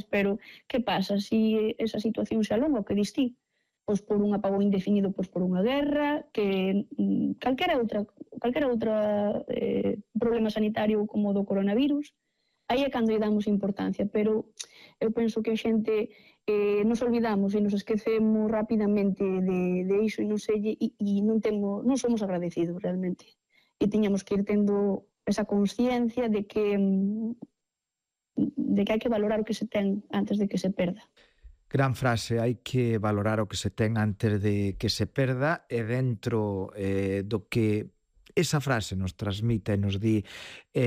pero que pasa se esa situación se alonga, o que dis ti? Pois por un apagón indefinido, pois por unha guerra, que calquera outra problema sanitario como o do coronavirus, aí é cando lle damos importancia, pero eu penso que a xente nos olvidamos e nos esquecemos rapidamente de iso e non somos agradecidos realmente. E tiñamos que ir tendo esa consciencia de que hai que valorar o que se ten antes de que se perda. Gran frase, hai que valorar o que se ten antes de que se perda, e dentro do que esa frase nos transmite e nos di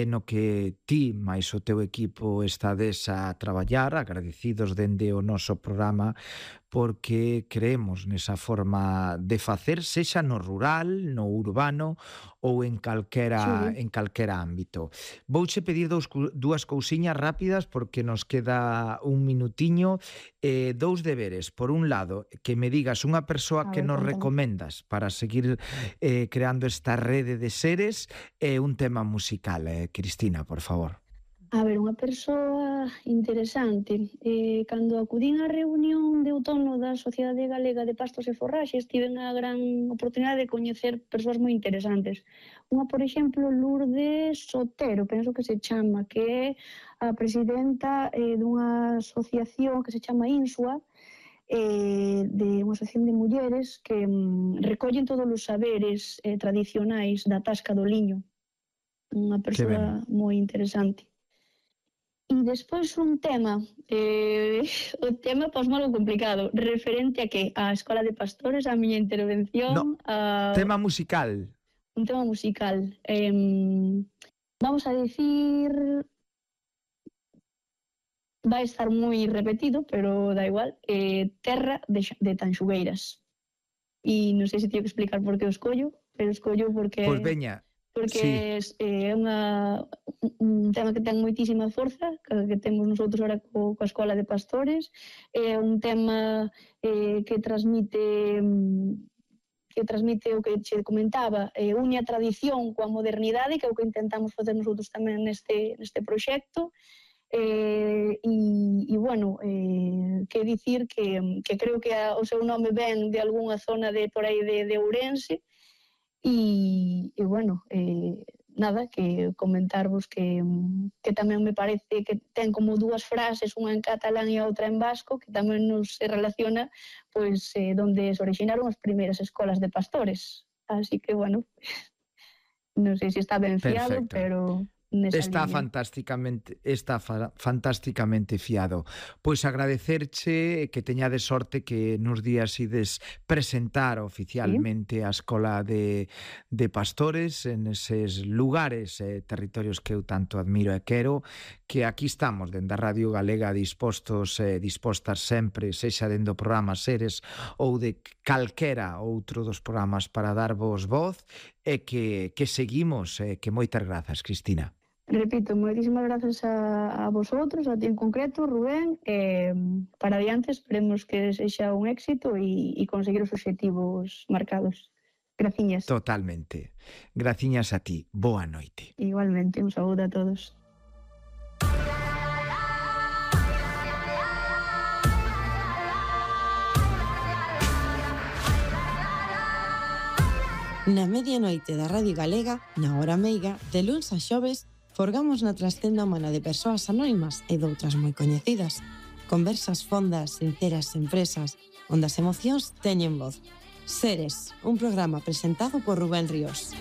no que ti máis o teu equipo estades a traballar, agradecidos dende o noso programa, porque creemos nesa forma de facer, sexa no rural, no urbano ou en calquera ámbito. Vouche pedir dúas cousiñas rápidas porque nos queda un minutiño. Dous deberes. Por un lado, que me digas unha persoa que nos recomendas para seguir creando esta rede de seres, e un tema musical, Cristina, por favor. A ver, unha persoa interesante. Cando acudín á reunión de outono da Sociedade Galega de Pastos e Forraxes, tiven a gran oportunidade de coñecer persoas moi interesantes. Unha, por exemplo, Lourdes Sotero, penso que se chama, que é a presidenta dunha asociación que se chama INSUA, de unha asociación de mulleres que recollen todos os saberes tradicionais da tasca do liño. Unha persoa moi interesante. E despois un tema, o tema pois malo complicado, referente a que? A Escola de Pastores, a miña intervención... Tema musical. Un tema musical. Vamos a dicir... Vai estar moi repetido, pero da igual. Terra de Tanxugueiras. E non sei se teño que explicar por que o escollo, pero escollo porque... Pois veña. Porque é un tema que ten moitísima forza, que temos nosotros ahora coa Escola de Pastores, é un tema que transmite o que che comentaba, une a tradición coa modernidade, que é o que intentamos facer nosotros tamén neste proxecto, e bueno, que dicir que creo que o seu nome ven de algunha zona de por aí de Ourense. E bueno, nada, que comentarvos que tamén me parece que ten como dúas frases, unha en catalán e a outra en vasco, que tamén nos se relaciona pois donde se originaron as primeiras escolas de pastores. Así que, bueno, non sei se está ben fiado, pero... Está fantasticamente fiado. Pois agradecerche que teñades sorte que nos días ides presentar oficialmente a Escola de Pastores en eses lugares e territorios que eu tanto admiro e quero, que aquí estamos dende a Radio Galega dispostas sempre, sexa dende o programa Seres ou de calquera outro dos programas para darvos voz, e que seguimos, que moitas grazas, Cristina. Repito, moitísimas grazas a vosotros, a ti en concreto, Rubén, para adiante esperemos que sexa un éxito e conseguir os obxectivos marcados. Graciñas. Totalmente. Graciñas a ti. Boa noite. Igualmente, un saúdo a todos. Na medianoite da Radio Galega, na hora meiga, de luns a xoves, forgamos na trascenda humana de persoas anónimas e doutras moi coñecidas. Conversas fondas, sinceras, sen presas, onde as emocións teñen voz. Seres, un programa presentado por Rubén Ríos.